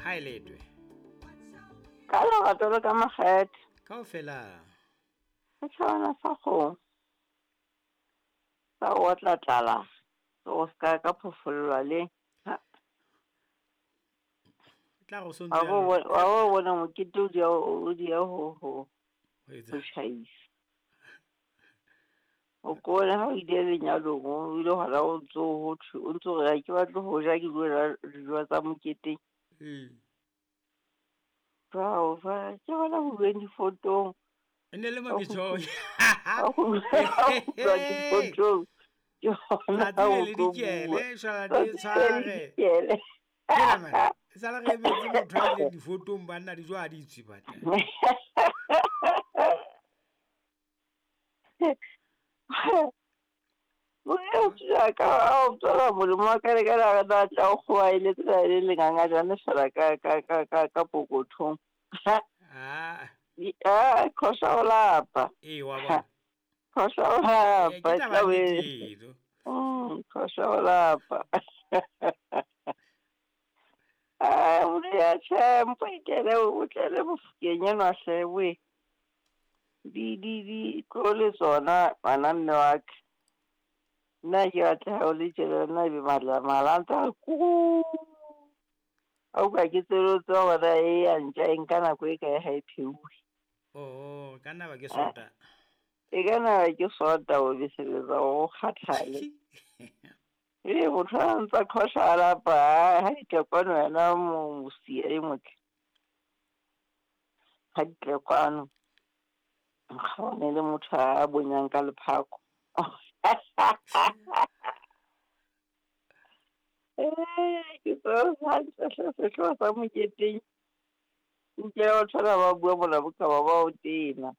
Ha e letwe. Ka lerato le ka makgethe. Kaofela. Setjhabana sa kgomo. Sa o otla tlala. O ska ka phofollwa le. Ha. Tla go Wa bo wa bo bona mokete o dia o dia ho ho. Ho etsa. Ho tjhaisa. O kone ha o ile lenyalong o ile hona o ntso ho thwe o ntso re ha ke batle ho ja ke dilo ja dijo tsa moketeng. Ee. Jwao fa ke bona ho bueng difotong. E ne le mo ke tjho. Ha ho bueng difotong. Ke hona Tsatsi o le le tlo dikele, bua. shwala di Tsatsi le le tshware. dikele. Hela man, e sale re emetse motho a ileng difotong banna dijo ha di tswe banna. Mokgotsi ka o tswela molemo wa ka le ka la tla tla o kgoaeletse la le lengangajane fela ka ka ka ka ka pokothong. Ah. Ah, khosa o lapa. Ee, wa bona. Khosa o lapa. Ke taba tla be- nnete eno. Khosa o lapa. Ah, o ya tjhe, mpo ikele o tlele mofokeng enwa hle we. Di di di tlo le tsona ngwana mme wa ka. Nna ke batla ha o le tjena nna ebe matla malanta ku. A utlwa ke tsebe tseba hore e ya ntja e nka nako e kae ha e pheuwe. Oh, ka nna ba ke sota. E ka nna ke sota o beseletsa o kgathale. Ee, motho a ntsa qhosha a lapa, ha di tle kwano wena mosia e motle. Ha di tle kwano. Nkgaone le motho a bonyang ka lephako. Ke tseba hantle hle sehlooho sa moketeng. Utlwe batho bana ba bua mona boka ba ba o tena.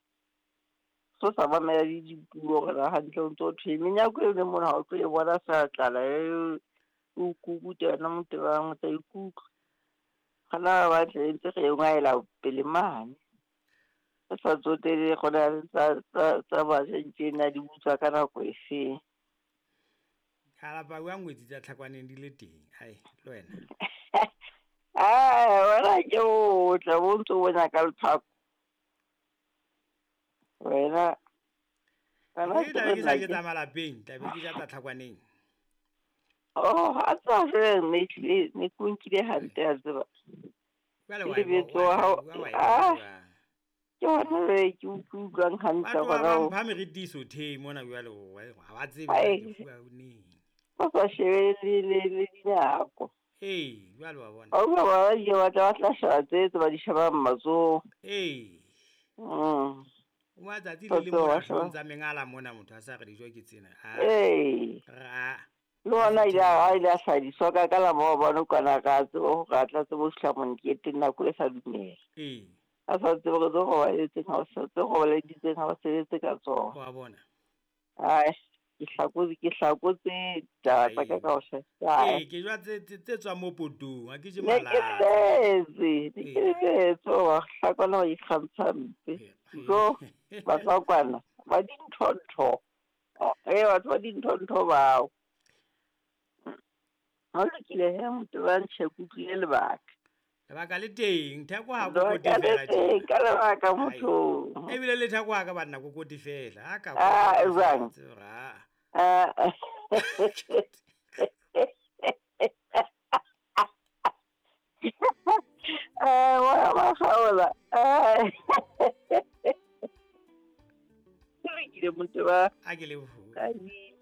So sa mamela le dipuo hore na hantle o ntso thweng. Menyako e leng mona ha o tlo e bona feela tlala e o kukuta wena motebang o tla ikutlwa. Gona ba tle ntse re e ngwaela pele mane. Re sa tsotelle gona le tsa tsa tsa batjha tjena di butswa ka nako e feng. Ka lapa bua ngwetsi tsa tlhakwaneng di le teng. Ai, le wena. Ah, wena ke o tla bo ntso bona ka lephako. Wena wena Ke tla be ke sa ke je tsa malapeng, tla be ke ja tsa tlhakwaneng. Oh, a tswa jwale ne tlile ne ke nkile hantle a tseba. Jwale Ke wa e lebetso wa wa hao. wa wa e Ah, jwang? ke hona jwale ke utlwang hantle Batho ba hona ba ho. mpha meritiso the mona jwale ha ba tsebe Ai. ke fuwa neng. Ba sa shebe le le le dinako. Ee, jwale wa bona. Ba utlwa ba ile ba tla ba tla sheba tse tse ba di shebang matsoho. Ee. O matsatsi Ba le le tseba mona ba sheba. hloohong tsa mengala mona motho a sa re dijo ke tsena. Ah. Ee. Ra. Le ona ile a ile a hlahiswa ka ka la maobane kwana ka tseba hore a tla tsebe ho fihla moketeng nako e sa dumela. Ee. A sa tsebe hore tse robaletseng ha o sa tse robaleditseng ha o sebetse ka tsona. Wa bona. Ai, ke hlakotse taba tsa ka kaofela. Ee, ke jwa tse tse tswang mo potong, ha ke je Ne ke malata. lebetse, ne ke lebetse hore hlakwana ba ikgantsha mpe. Jo, batswakwana ba dintho-ntho. Ee, batho ba dintho-ntho bao. Ha o lokile he motho ba ntjhe ke utlwile lebaka. Lebaka le teng, theko ha kokote Lebaka le fela teng, tjena. ka lebaka motho. Ebile le theko ha ka banna kokote fela. Ha ka Ah, kokota jwang? fela, tseba, ah. Ah. Ah, wa ba kgaola. Ah. Ke lokile motho ba. A ke lebohe. Ka di